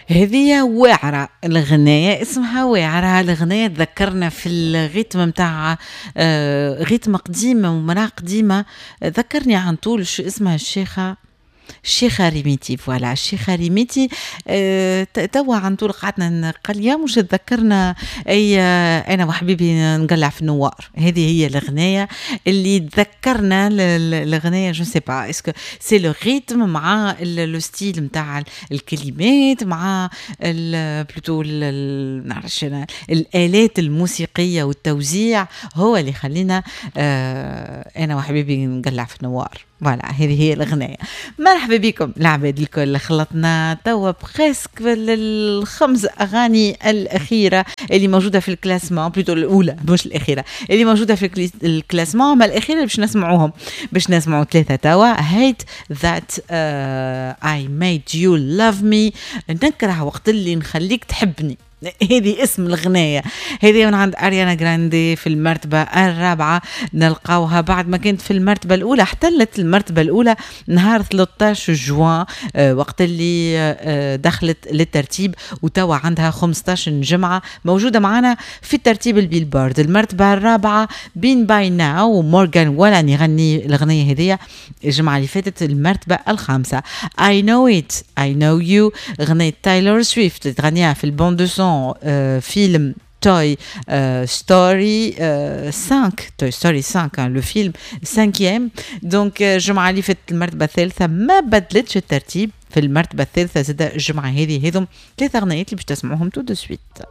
هذه واعرة الغناية، اسمها واعرة الغناية. تذكرنا في ال rythme متاع rythme قديم ومرأة قديمة. ذكرني عن طول شو اسمها، الشيخة ريميتي، voilà، الشيخة ريميتي. توا عن طول قعدنا قال يا مش تذكرنا اي انا وحبيبي نقلع في النوار. هذه هي الغناية اللي تذكرنا الغناية. je sais pas est-ce que c'est le rythme مع le style نتاع الكلمات مع plutôt نعرفش انا الالات الموسيقية والتوزيع هو اللي خلينا انا وحبيبي نقلع في النوار. voilà، هذه هي الغناية. مرحبا بكم العباد الكل. خلطنا توا presque الخمس أغاني الأخيرة اللي موجودة في ال classement، plutôt الأولى مش الأخيرة، اللي موجودة في ال classement. ما الأخيرة باش نسمعوهم، باش نسمعوا ثلاثة توا. hate that I made you love me، نكره وقت اللي نخليك تحبني، هذه اسم الغناية. هذه من عند أريانا جراندي، في المرتبة الرابعة نلقاوها بعد ما كانت في المرتبة الأولى. احتلت المرتبة الأولى نهار 13 جوان وقت اللي دخلت للترتيب، وتوا عندها 15 جمعة موجودة معنا في الترتيب البيلبورد. المرتبة الرابعة بين By Now ومورغان والان يغني الأغنية هذه الجمعة اللي فاتت. المرتبة الخامسة I know it I know you، أغنية تايلور سويفت تغنيها في ال bande son فيلم Toy Story 5، Toy Story 5، le film 5. donc الجمعة اللي فاتت المرتبة الثالثة، ما بدلتش الترتيب، في المرتبة الثالثة زاد الجمعة هذه. هذم ثلاثة أغنيات اللي باش تسمعوهم tout de suite.